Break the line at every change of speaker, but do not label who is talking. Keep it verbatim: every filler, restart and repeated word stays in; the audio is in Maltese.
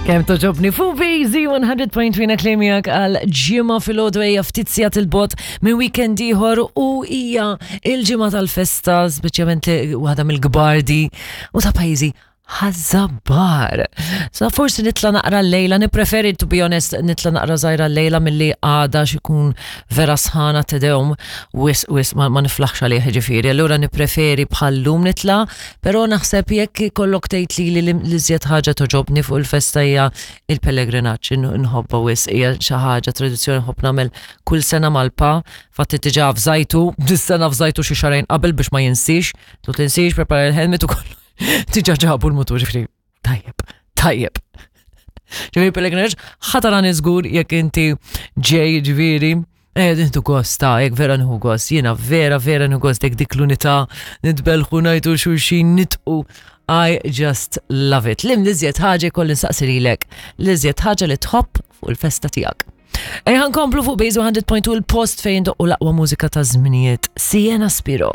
Kemm togħġobni fuq Bejzi mija u tnejn punt tlieta klemijak għal ġimgħa filgħodu, hija ftit sigħat 'il bogħod minn weekend ieħor u hija il-ġimgħa tal-festa, speċjalment waħda mill-gbardi u ta' pajjiżi, Ħaż-Żabbar. So forsi nitla naqra l-lejla, nipreferi, to be honest, nitla naqra żgħira l-lejla milli għada xikun vera sħana tedewm, wis wis ma, ma niflaħx għalih ġifieri. Allura nipreferi bħallum nitla, pero naħseb jekk kollok tgħid li li l-iżjed ħaġa togħġobni fuq il-festa hija il-pellegrinaġġ, nħobba wis, hija xi ħaġa tradizzjoni nħobb nagħmel kull sena mal-pa, fatti diġà avżajtu, dis-sena avżajtu xi xahrejn qabel biex ma jinsiex, tu tinsiex, prepara il-helmet u kollu. Diġà ġabu l-mutur, ġifieri, tajjeb, tajjeb. Ġifieri pellegrinaġġ, ħataran iżgur jekk inti ġej, ġifieri, Eh, nieħdu gost, ta' jekk vera nieħu gost, jiena vera, vera nieħu gost, jekk dik l-unità nitbelħu ngħidu xulxin nitqu. I just love it. Lim l-iżjed ħaġa kolli nsaqsi lilek, l-iżjed ħaġa li tħobb fuq il-festa tiegħek. Ejja nkomplu fuq Bejzu mija punt tnejn, il-post fejn doqqu l-aqwa mużika ta' żminijiet. Sienna Spiro.